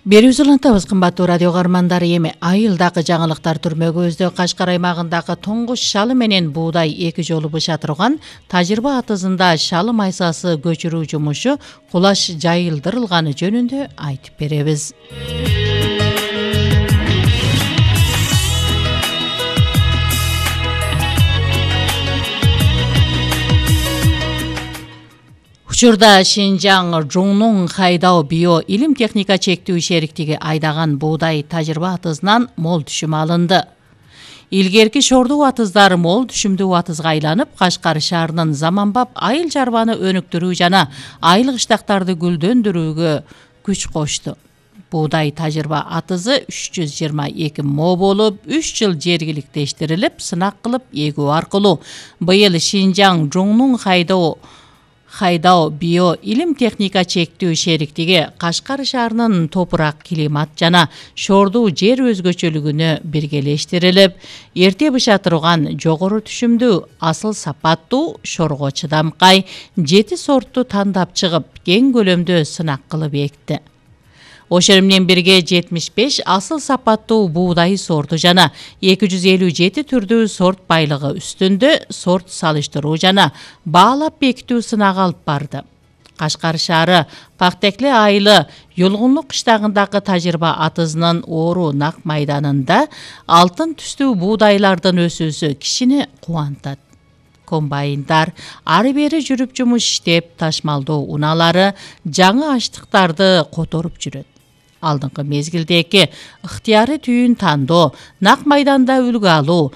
Берүүсү улантабыз, кымбаттуу радио каармандары. Эми айылдагы жаңылыктар түрмөгүбүздө Кашкар аймагындагы тоңгуч шалы менен буудай эки жолу быша турган Тажырба атызында шалы майсасы көчүрүү жумушу кулаш жайылдырылганы жөнүндө айтып беребиз. Учурда Шинжаң Жуңнуң Хайдао био илим техника чектүү шериктиги айдаган буудай Тажырба атызынан мол түшүм алынды. Илгерки шордуу атыздар мол түшүмдүү атызга айланып, Кашкар шаарынын заманбап айыл чарбаны өнүктүрүү жана айыл кыштактарды гүлдөндүрүүгө күч кошту. Буудай Тажырба атызы 322 мо болуп, 3 жыл жергиликтештирилип, сынак кылып эгүү аркылуу быйыл Шинжаң Жуңнуң Хайдао био илим техника чектүү шериктиги Кашкар шаарынын топурак, климат жана шордуу жер өзгөчөлүгүнө биргелештирилип, эрте быша турган жогору түшүмдүү, асыл сапаттуу, шорго чыдамкай 7 сортту тандап чыгып, кең көлөмдө сынак кылып экти. Ошол менен бирге 75 асыл сапаттуу буудай сорту жана 257 түрдүү сорт байлыгы үстүндө сорт салыштыруу жана баалап бекитүү сынагы алып барды. Кашкар шаары Пактекле айылы Юлгунлук кыштагындагы Тажырба атызынын оору нак майданында алтын түстүү буудайлардын өсүүсү кишини кубантат. Комбайндар ары бери жүрүп жумуш иштеп, ташмалдоо унаалары жаңы аштыктарды которуп жүрөт. Алдыңкы мезгилдеги ыктыяры түйүн тандоо, нак майданда үлгү алуу,